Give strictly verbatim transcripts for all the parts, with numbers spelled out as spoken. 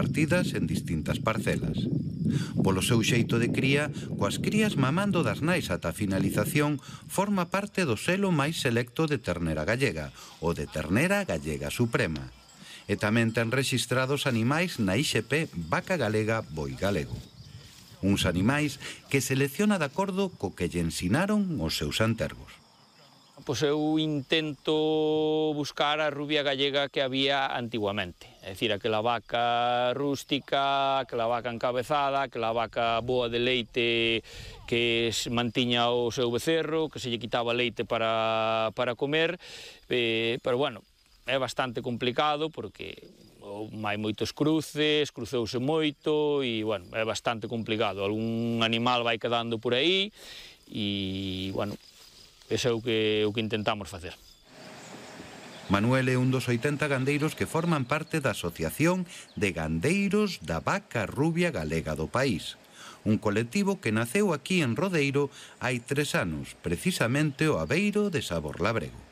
repartidas en distintas parcelas. Polo seu xeito de cría, coas crías mamando das nais ata a finalización, forma parte do selo máis selecto de ternera gallega, o de ternera gallega suprema. E tamén ten rexistrados animais na I X P Vaca Galega Boi Galego. Uns animais que selecciona de acordo co que lle ensinaron os seus antergos. Pois eu intento buscar a rubia gallega que había antiguamente, é dicir, aquela vaca rústica, aquela vaca encabezada, aquela vaca boa de leite que mantiña o seu becerro, que se lle quitaba leite para, para comer, eh, pero bueno, é bastante complicado porque hai moitos cruces, cruceuse moito e, bueno, é bastante complicado. Algún animal vai quedando por aí e, bueno, ese é o que, o que intentamos facer. Manuel é un dos oitenta gandeiros que forman parte da Asociación de Gandeiros da Vaca Rubia Galega do país, un colectivo que naceu aquí en Rodeiro hai tres anos, precisamente o abeiro de Sabor Labrego.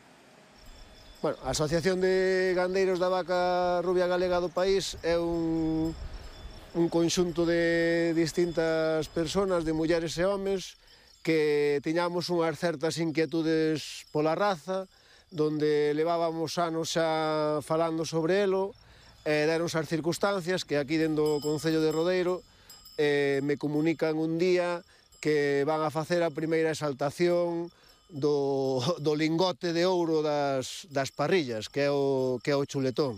Bueno, a Asociación de Gandeiros da Vaca Rubia Galega do país é un, un conxunto de distintas persoas, de mulleres e homes, que tiñamos unhas certas inquietudes pola raza, donde levábamos anos xa falando sobre elo, e deron as circunstancias que aquí dentro do Concello de Rodeiro eh, me comunican un día que van a facer a primeira exaltación do, do lingote de ouro das, das parrillas, que é o, que é o chuletón.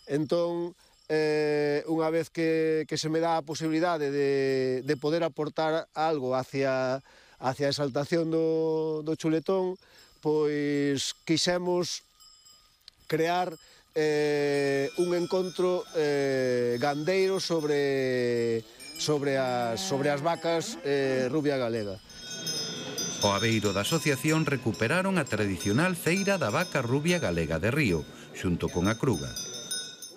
Entón, eh, unha vez que, que se me dá a posibilidade de, de poder aportar algo hacia hacia a exaltación do, do chuletón, pois quixemos crear eh, un encontro eh, gandeiro sobre, sobre, as, sobre as vacas eh, rubia galega. O abeiro da asociación recuperaron a tradicional feira da vaca rubia galega de Río, xunto con a Cruga.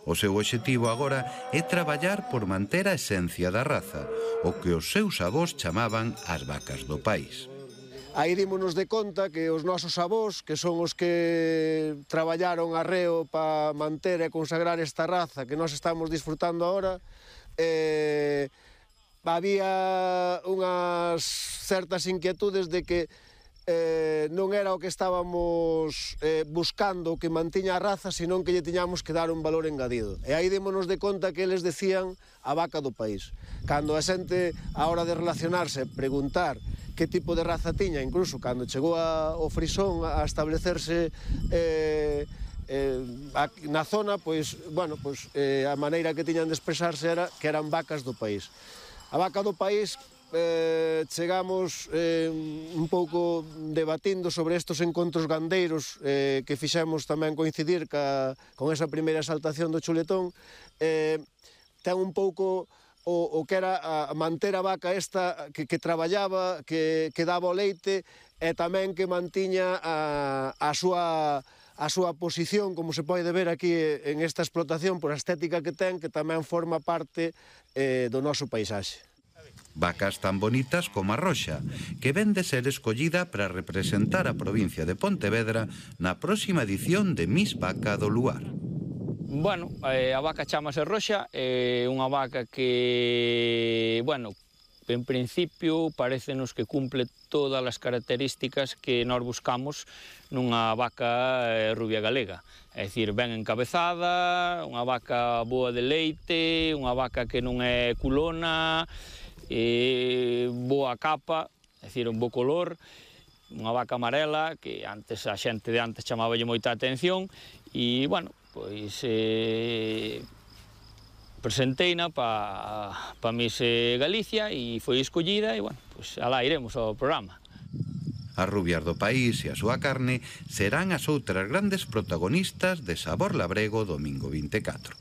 O seu obxectivo agora é traballar por manter a esencia da raza, o que os seus avós chamaban as vacas do país. Aí dímonos de conta que os nosos avós, que son os que traballaron arreo para manter e consagrar esta raza que nós estamos disfrutando agora, eh, había unhas certas inquietudes de que eh, non era o que estábamos eh, buscando que mantiña a raza, senón que lle tiñamos que dar un valor engadido. E aí démonos de conta que eles decían a vaca do país. Cando a xente, a hora de relacionarse, preguntar que tipo de raza tiña, incluso cando chegou a, o frisón a establecerse eh, eh, na zona, pois, bueno, pois, eh, a maneira que tiñan de expresarse era que eran vacas do país. A vaca do país, eh, chegamos eh, un pouco debatindo sobre estos encontros gandeiros eh, que fixemos tamén coincidir ca, con esa primeira exaltación do chuletón, eh, ten un pouco o, o que era a manter a vaca esta que, que traballaba, que, que daba o leite e tamén que mantiña a, a súa a súa posición, como se pode ver aquí en esta explotación, por a estética que ten, que tamén forma parte eh, do noso paisaxe. Vacas tan bonitas como a roxa, que ven de ser escollida para representar a provincia de Pontevedra na próxima edición de Miss Vaca do Luar. Bueno, a vaca chamase roxa, é unha vaca que, bueno, en principio parecenos que cumple todas as características que nós buscamos nunha vaca rubia galega. É dicir, ben encabezada, unha vaca boa de leite, unha vaca que non é culona, e boa capa, é dicir, un bo color, unha vaca amarela que antes a xente de antes chamaballe moita atención e, bueno, pois eh, presenteina para pa Miss Galicia e foi escollida e, bueno, pois alá iremos ao programa. As rubias do país e a súa carne serán as outras grandes protagonistas de Sabor Labrego domingo vinte e catro.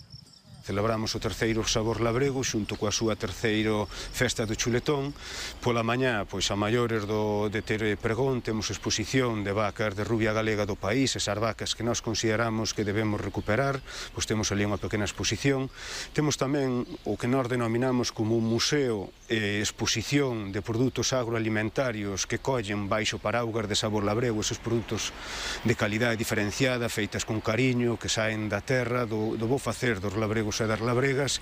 Celebramos o terceiro Sabor Labrego xunto coa súa terceiro festa do chuletón. Pola mañá, pois a maiores do, de ter pregón, temos exposición de vacas de rubia galega do país, esas vacas que nós consideramos que debemos recuperar, pois temos ali unha pequena exposición. Temos tamén o que nós denominamos como un museo e exposición de produtos agroalimentarios que collen baixo paraugas de Sabor Labrego, esos produtos de calidade diferenciada, feitas con cariño, que saen da terra, do, do bo facer dos labregos e das labregas,